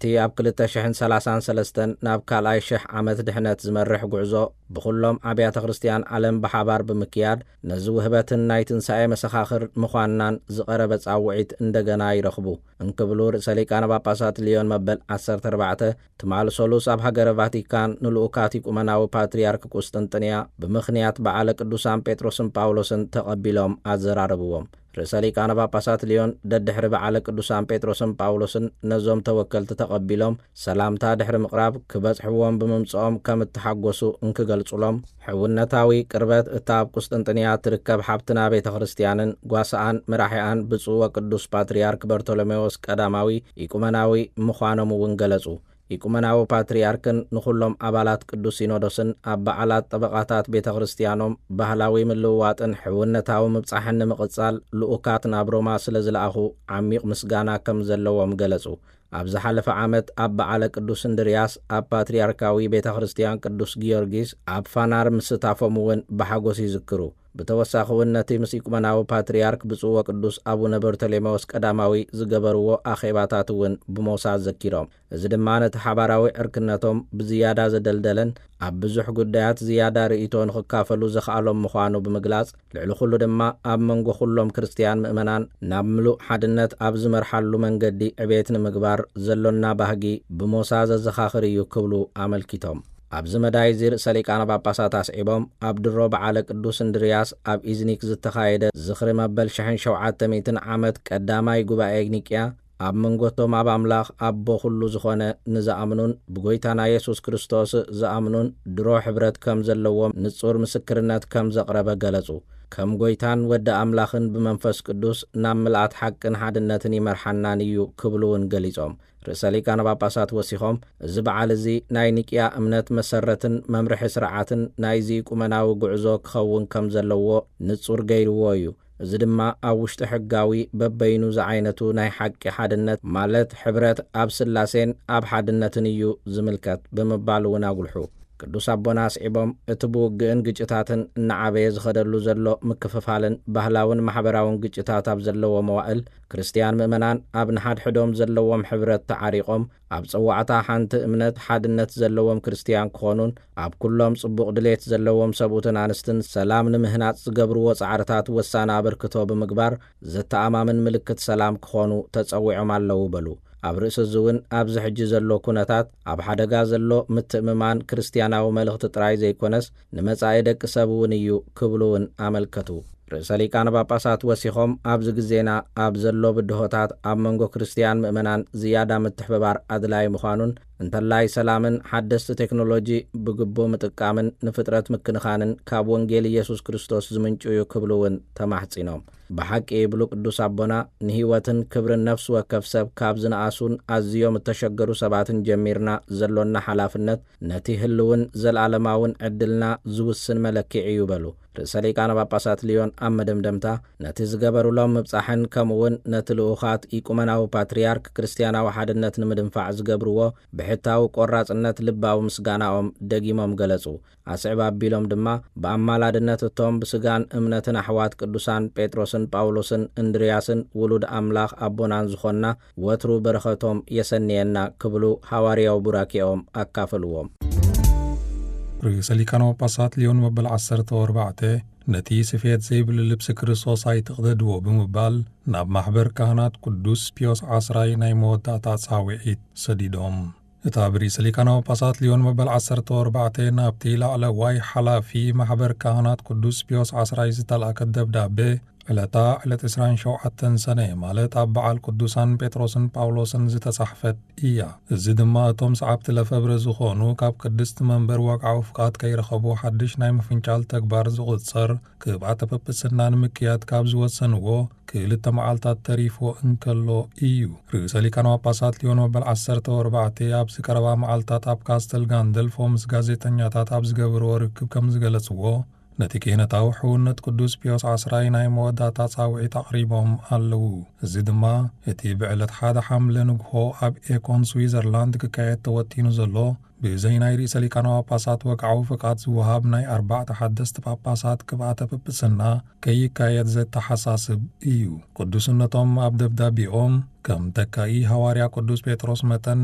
ኣብቲ ኣብ ክልተ ሽሕን ሰላሳን ሰለስተን ናብ ካልኣይ ሽሕ ዓመት ድሕነት ዝመርሕ ጉዕዞ ብኹሎም ኣብያተ ክርስቲያን ዓለም ብሓባር ብምክያድ፣ ነዚ ውህበትን ናይ ትንሳኤ መሰኻኽር ምዃንናን ዝቐረበ ጻውዒት እንደገና ይረኽቡ እንክብሉ ርእሰ ሊቃነ ጳጳሳት ሊዮን መበል ዓሰርተ ኣርባዕተ ትማል ሰሉስ ኣብ ሃገረ ቫቲካን ንልኡካት ኢቁመናዊ ፓትርያርክ ቁስጥንጥንያ ብምኽንያት በዓለ ቅዱሳን ጴጥሮስን ጳውሎስን ተቐቢሎም ኣዘራረብዎም። ርእሰ ሊቃነ ጳጳሳት ሊዮን ደድሕሪ በዓለ ቅዱሳን ጴጥሮስን ጳውሎስን ነዞም ተወከልቲ ተቐቢሎም ሰላምታ ድሕሪ ምቕራብ፣ ክበጽሕዎም ብምምጽኦም ከም እተሓጎሱ እንክገልጹሎም፣ ሕውነታዊ ቅርበት እታ ኣብ ቁስጥንጥንያ ትርከብ ሓብትና ቤተ ክርስቲያንን ጓሳኣን መራሒኣን ብፁዕ ወቅዱስ ፓትርያርክ በርቶሎሜዎስ ቀዳማዊ ኢቁመናዊ ምዃኖም እውን ገለጹ። ኢቁመናዊ ፓትርያርክን ንኹሎም ኣባላት ቅዱስ ሲኖዶስን ኣብ በዓላት ጠበቓታት ቤተ ክርስቲያኖም ባህላዊ ምልውዋጥን ሕውነታዊ ምብጻሕን ንምቕጻል ልኡካት ናብ ሮማ ስለ ዝለኣኹ ዓሚቕ ምስጋና ከም ዘለዎም ገለጹ። ኣብ ዝሓለፈ ዓመት ኣብ በዓለ ቅዱስ እንድርያስ ኣብ ፓትርያርካዊ ቤተ ክርስቲያን ቅዱስ ጊዮርጊስ ኣብ ፋናር ምስታፎም እውን ብሓጎስ ይዝክሩ። ብተወሳኺ እውን ነቲ ምስ ኢቁመናዊ ፓትርያርክ ብፁዕ ወቅዱስ ኣቡነ በርተሌሜዎስ ቀዳማዊ ዝገበርዎ ኣኼባታት እውን ብሞሳ ዘኪሮም። እዚ ድማ ነቲ ሓባራዊ ዕርክነቶም ብዝያዳ ዘደልደለን ኣብ ብዙሕ ጉዳያት ዝያዳ ርእይቶ ንኽካፈሉ ዘኽኣሎም ምዃኑ ብምግላጽ፣ ልዕሊ ኩሉ ድማ ኣብ መንጎ ኩሎም ክርስትያን ምእመናን ናብ ምሉእ ሓድነት ኣብ ዝመርሓሉ መንገዲ ዕቤት ንምግባር ዘሎና ባህጊ ብሞሳ ዘዘኻኽር እዩ ክብሉ ኣመልኪቶም። ኣብዚ መዳይ እዚ ርእሰ ሊቃነ ጳጳሳት ኣስዒቦም፣ ኣብ ድሮ በዓለ ቅዱስ እንድርያስ ኣብ ኢዝኒክ ዝተኻየደ ዝኽሪ መበል ሽሕን ሸውዓተ ሚእትን ዓመት ቀዳማይ ጉባኤ ኒቅያ ኣብ መንጎቶም ኣብ ኣምላኽ ኣቦ ኩሉ ዝኾነ ንዝኣምኑን ብጎይታና የሱስ ክርስቶስ ዝኣምኑን ድሮ ሕብረት ከም ዘለዎም ንጹር ምስክርነት ከም ዘቕረበ ገለጹ። ከም ጎይታን ወዲ ኣምላኽን ብመንፈስ ቅዱስ ናብ ምልኣት ሓቅን ሓድነትን ይመርሓናን እዩ ክብሉ እውን ገሊጾም። ርእሰ ሊቃነ ጳጳሳት ወሲኾም፣ እዚ በዓል እዚ ናይ ኒቅያ እምነት መሰረትን መምርሒ ስርዓትን ናይዚ ኢቁመናዊ ጉዕዞ ክኸውን ከም ዘለዎ ንጹር ገይርዎ እዩ። እዚ ድማ ኣብ ውሽጢ ሕጋዊ በበይኑ ዝዓይነቱ ናይ ሓቂ ሓድነት፣ ማለት ሕብረት ኣብ ስላሴን ኣብ ሓድነትን እዩ ዝምልከት ብምባል እውን ኣጉልሑ። ቅዱስ ኣቦና ኣስዒቦም፣ እቲ ብውግእን ግጭታትን እናዓበየ ዝኸደሉ ዘሎ ምክፍፋልን ባህላውን ማሕበራውን ግጭታት ኣብ ዘለዎ መዋእል፣ ክርስትያን ምእመናን ኣብ ንሓድሕዶም ዘለዎም ሕብረት ተዓሪቖም፣ ኣብ ጸዋዕታ ሓንቲ እምነት ሓድነት ዘለዎም ክርስትያን ክኾኑን፣ ኣብ ኩሎም ጽቡቕ ድሌት ዘለዎም ሰብኡትን ኣንስትን ሰላም ንምህናጽ ዝገብርዎ ጻዕርታት ወሳኒ ኣበርክቶ ብምግባር፣ ዘተኣማምን ምልክት ሰላም ክኾኑ ተጸዊዖም ኣለዉ በሉ። ኣብ ርእሲ እዚ እውን፣ ኣብዚ ሕጂ ዘሎ ኩነታት፣ ኣብ ሓደጋ ዘሎ ምትእምማን ክርስትያናዊ መልእኽቲ ጥራይ ዘይኮነስ፣ ንመጻኢ ደቂ ሰብ እውን እዩ ክብሉ እውን ኣመልከቱ። ርእሰ ሊቃነ ጳጳሳት ወሲኾም፣ ኣብዚ ግዜና ኣብ ዘሎ ብድሆታት፣ ኣብ መንጎ ክርስትያን ምእመናን ዝያዳ ምትሕብባር ኣድላዪ ምዃኑን፣ እንተላይ ሰላምን ሓደስቲ ቴክኖሎጂ ብግቡእ ምጥቃምን ንፍጥረት ምክንኻንን ካብ ወንጌል ኢየሱስ ክርስቶስ ዝምንጩ እዩ ክብሉ እውን ተማሕጺኖም። ብሓቂ ይብሉ ቅዱስ ኣቦና፣ ንህይወትን ክብርን ነፍሲ ወከፍ ሰብ ካብ ዝነኣሱን ኣዝዮም እተሸገሩ ሰባትን ጀሚርና ዘሎና ሓላፍነት፣ ነቲ ህልውን ዘለኣለማውን ዕድልና ዝውስን መለክዒ እዩ በሉ። ርእሰ ሊቃነ ጳጳሳት ሊዮን ኣብ መደምደምታ፣ ነቲ ዝገበሩሎም ምብጻሕን ከምኡውን ነቲ ልኡኻት ኢቁመናዊ ፓትርያርክ ክርስትያናዊ ሓድነት ንምድንፋዕ ዝገብርዎ ብሕታዊ ቆራጽነት ልባዊ ምስጋናኦም ደጊሞም ገለጹ። ኣስዕብ ኣቢሎም ድማ፣ ብኣማላድነት እቶም ብስጋን እምነትን ኣሕዋት ቅዱሳን ጴጥሮስን ጳውሎስን እንድርያስን ውሉድ ኣምላኽ ኣቦናን ዝኾንና፣ ወትሩ በረኸቶም የሰንየና ክብሉ ሃዋርያዊ ቡራኬኦም ኣካፈልዎም። ርእሰ ሊቃነ ጳጳሳት ሊዮን መበል ዓሰርተ ኣርባዕተ፣ ነቲ ስፌት ዘይብሉ ልብሲ ክርስቶስ ኣይትቕደድዎ ብምባል፣ ናብ ማሕበር ካህናት ቅዱስ ፒዮስ ዓስራይ ናይ መወዳእታ ጻውዒት ሰዲዶም። እታ ብርእሰ ሊቃነ ጳጳሳት ሊዮን መበል ዓሰርተ ኣርባዕተ ናብቲ ላዕለዋይ ሓላፊ ማሕበር ካህናት ቅዱስ ፒዮስ ዓስራይ ዝተላእከት ደብዳቤ፣ ዕለታ ዕለት ዕስራን ሸውዓተን ሰነ፣ ማለት ኣብ በዓል ቅዱሳን ጴጥሮስን ጳውሎስን ዝተጻሕፈት እያ። እዚ ድማ እቶም ሰዓብቲ ለፈብረ ዝኾኑ፣ ካብ ቅድስቲ መንበር ወግዓዊ ፍቃድ ከይረኸቡ ሓድሽ ናይ ምፍንጫል ተግባር ዝቑጸር ቅብኣተ ጵጵስና ንምክያድ ካብ ዝወሰንዎ ክልተ መዓልታት ተሪፍዎ እንከሎ እዩ። ርእሰ ሊቃነ ጳጳሳት ሊዮን መበል ዓሰርተ ኣርባዕተ ኣብዚ ቀረባ መዓልታት ኣብ ካስተል ጋንደልፎ ምስ ጋዜጠኛታት ኣብ ዝገበርዎ ርክብ ከም ዝገለጽዎ፣ ነቲ ክህነታዊ ሕውነት ቅዱስ ፒዮስ ዓስራይ ናይ መወዳእታ ጻውዒት ኣቕሪቦም ኣለዉ። እዚ ድማ እቲ ብዕለት ሓደ ሓምለ ንግሆ ኣብ ኤኮን ስዊዘርላንድ ክካየድ ተወጢኑ ዘሎ፣ ብዘይ ናይ ርእሰ ሊቃነ ጳጳሳት ወግዓዊ ፍቃድ ዝወሃብ ናይ ኣርባዕተ ሓደስቲ ጳጳሳት ቅብኣተ ጵጵስና ከይካየድ ዘተሓሳስብ እዩ። ቅዱስነቶም ኣብ ደብዳቤኦም፣ ከም ተካኢ ሃዋርያ ቅዱስ ጴጥሮስ መጠን